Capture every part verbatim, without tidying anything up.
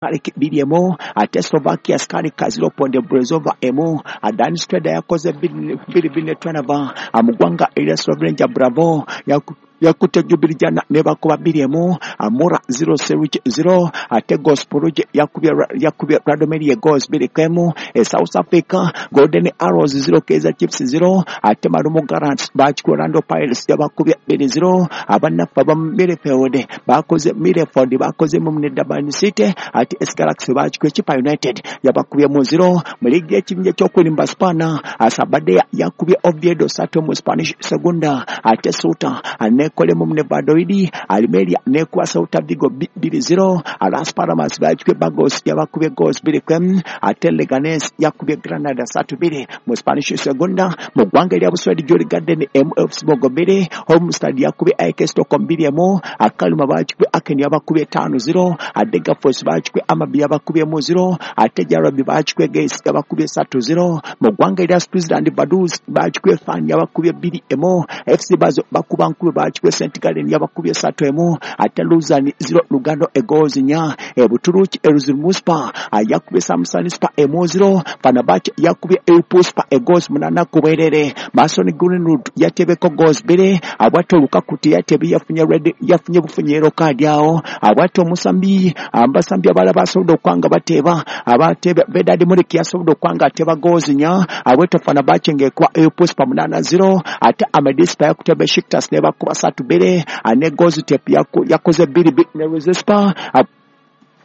Bbiri emu, ate Slovakia Skalika zero point Brezova emu. Adani Streda yakoze bbiri bbiri ne Trnava. Mu ggwanga erya Slovenia Bravo yaku yakutte Jubilijana ne bakuba bbiri emu. Amura zero Seruch zero, ate Gospoluj yakubye yakubye Radomir goals bbiri ku emu. E South Africa Golden Arrows zero Kaizer Chiefs zero, ate Marumo Gallants bakikuba Orlando Pirates yabakubye bbiri zero. Abannaffe aba Midfield bakoze Midfield bakoze mu ne Durban City, ate A S Galaxy bakikuba Chippa United yabakubye mu zero. Mu liigi y'ekibinja ky'okulimba Spana Sabadell yakubye Oviedo ssatu mu Spanish Segunda, ate Ceuta nekolemu mu Valladolid, Almeria nekuba Celta Vigo bbiri zero. Las Palmas bakikubye Burgos yabakubye goals bbiri ku emu, ate Leganes yakubye Granada ssatu bbiri mu Spanish Segunda. Mu ggwanga erya Buswedi Djurgården emu Elfsborg bbiri, Halmstad yakubye A I K Stockholm bbiri emu, Kalmar bakikubye Aken yabakubye ttaano zero, Degerfors bakikubye Hammarby yabakubye mu zero, ate Jarabi bakikubye Gais yabakubye ssatu zero. Mu ggwanga erya Switzerland Vaduz bakikubye Fan yabakubye bbiri emu, F C Basel bakuba nkube bakikubye Saint Gallen yabakubye ssatu emu, ate Lausanne zero Lugano egoals nnya. E Buturuki Erzurumspor yakubye Samsunspor emu zero, Fenerbahce yakubye Eyüpspor egoals munaana ku bwerere. Mason Greenwood yatebeko goals bbiri, abwate Lukaku teyatebye yafunye red yafunye bufunye yellow card awo. Abwate omusambi abasambi abalala basobodde okwanga bateeba, abatebe Vedad Muric yasobodde okwanga ateba goals nnya, abwate Fenerbahce ng'ekuba Eyüpspor munaana zero, ate Amedspor yakutya Besiktas ne bakuba ssatu bbiri, ne Göztepe yakoze bbiri bbiri ne Rizespor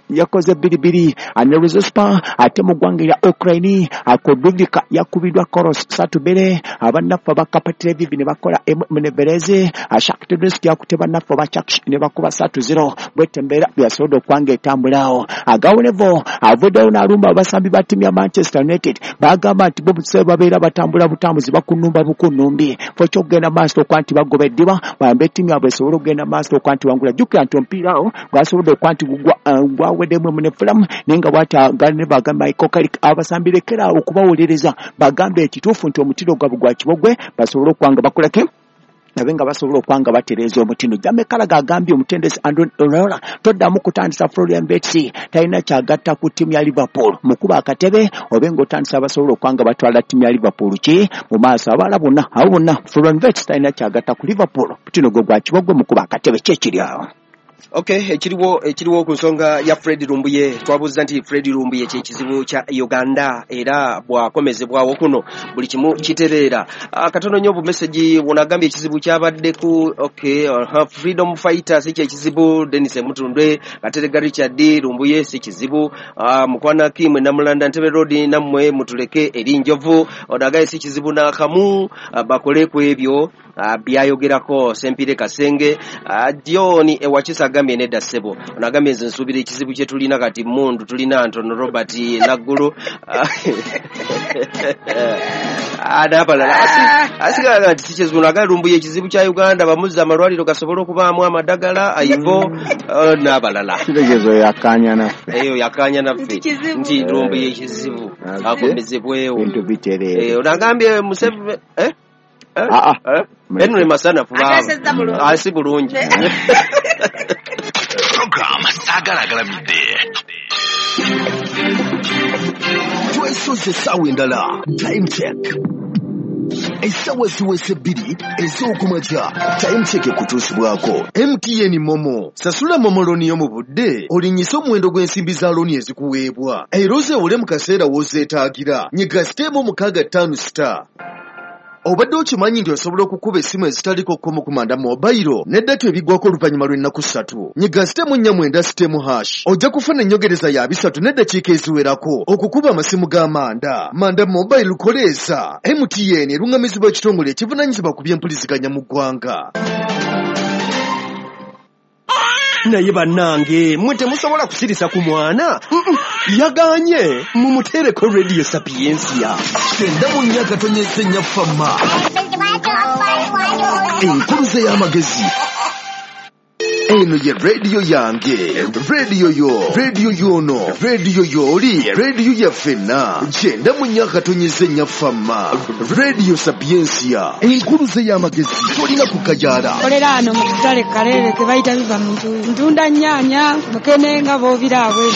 yakoze bbiri bbiri ne Rizespor. Ate mu ggwanga erya Ukraine Kodrivka yakubiddwa Koros ssatu bbiri, abannaffe aba Kapatreviv ne bakola emu ne Bereze, Shakhtar Donetsk yakute bannaffe aba Chaksh ne bakuba ssatu zero. Bwete embeera byasobodde okwanga etambulaawo. Agawonevo avuddeyo n'alumba abasambi ba ttiimu ya Manchester United, bagamba nti bo babeera batambula butambuzi bakunumba bukunumbi fo ky'okugenda maaso okwa nti bagoba eddiba bayambe ttiimu yaabwe esobole okugenda maaso okwa nti wangula. Jjukira nti omupiira awo gwasobodde okwa nti gwa weddemu ne Fulham, naye nga bw'ati ne bagamba Michael Carrick abasambi lekera awo okubawuliriza, bagambe ekituufu nti omutindo gwabwe gwa kibogwe basobole okwanga bakolaki nabe nga basobola okwanga batereeza omutindo. Jamie Carragher agambye omutendesi Andoni Iraola toddamu kutandisa Florian Wirtz, talina kyagatta ku ttiimu ya Liverpool, mukuba akatebe obe ng'otandisa abasobola okwanga batwala ttiimu ya Liverpool ki mu maaso. Abalala bonna abo bonna Florian Wirtz talina kyagatta ku Liverpool, omutindo gwe gwa kibogwe, mukuba akatebe kyekiri awo. Okay, ekiriwo ekiriwo ku nsonga ya Fred Lumbuye. Twabuuza nti Fred Lumbuye kye kizibu kya Uganda era bw'akomezebwawo kuno buli kimu kitereera. Katono nnyo obumesegi bw'onagambye ekizibu kyabadde ku okay, uh, Freedom Fighters si kye kizibu, Dennis Mutundwe, Katerega Richard Lumbuye si kizibu, uh, Mukwana Kimwe Namulanda Ntebe Road nammwe mutuleke eri njovu, onagaye si kizibu n'akamu, uh, bakole ku ebyo uh, byayogerako Sempire Kasenge, uh, John Ewakisa agambye nedda ssebo. Onagambye nze nsuubira ekizibu kye tulina kati mmundu tulina Ntono Robert Naggulu n'abalala asigala nti si kizibu. Nagambye Lumbuye ekizibu kya Uganda bamuzza amalwaliro gasobole okubaamu amadagala aivo n'abalala. Kitegeezo yakkaanya naffe, eyo yakkaanya naffe nti Lumbuye ekizibu akomezebwewo bintu bitereere. Onagambye Museveni eh Henry Masanafu asi bulungi. Program Sagalagalamidde twesoze essaawa endala. Time check essaawa ziweze bbiri ez'okumakya. Time check ekutuusibwako M T N Momo. Sasula Momo looni yo mu budde olinnyise omuwendo gw'ensimbi za looni ezikuweebwa era ozeewole mu kaseera w'ozeetaagira. Nyiga siteemu mukaaga ttaano star. Obadde okimanyi nti osobola okukuba essimu ezitaliko kkomo ku manda mobayiro ne data ebiggwako oluvannyuma lw'ennaku ssatu. Nyiga sitemu nnya mwenda sitemu hash ojja kufuna ennyongereza ya bisatu n'eddakiika eziwerako okukuba amasimu ga manda. Manda mobayiro koleesa. M T N eruŋŋamizibwa ekitongole ekivunaanyizibwa ku by'empuliziganya mu ggwanga. Naye bannange mmwe temusobola kusirisa ku mwana, yaganye mumuteereko Radio Sapientia. Kyenda mu nnya katonyeze nnya fama enkuluze y'amagezi. Eno ye radio yange, radio yo, radio yono, radio yoli, radio yaffenna. Kyenda mu nnya akatonyeze nnya famma. Radio Sapientia, enkuluze y'amagezi, tolina kukajaala. Kolera ano mu katale Kalere ke bayita biva mu ntuuyo. Ntunda nnyaanya, mukene nga bw'obiraba bwe.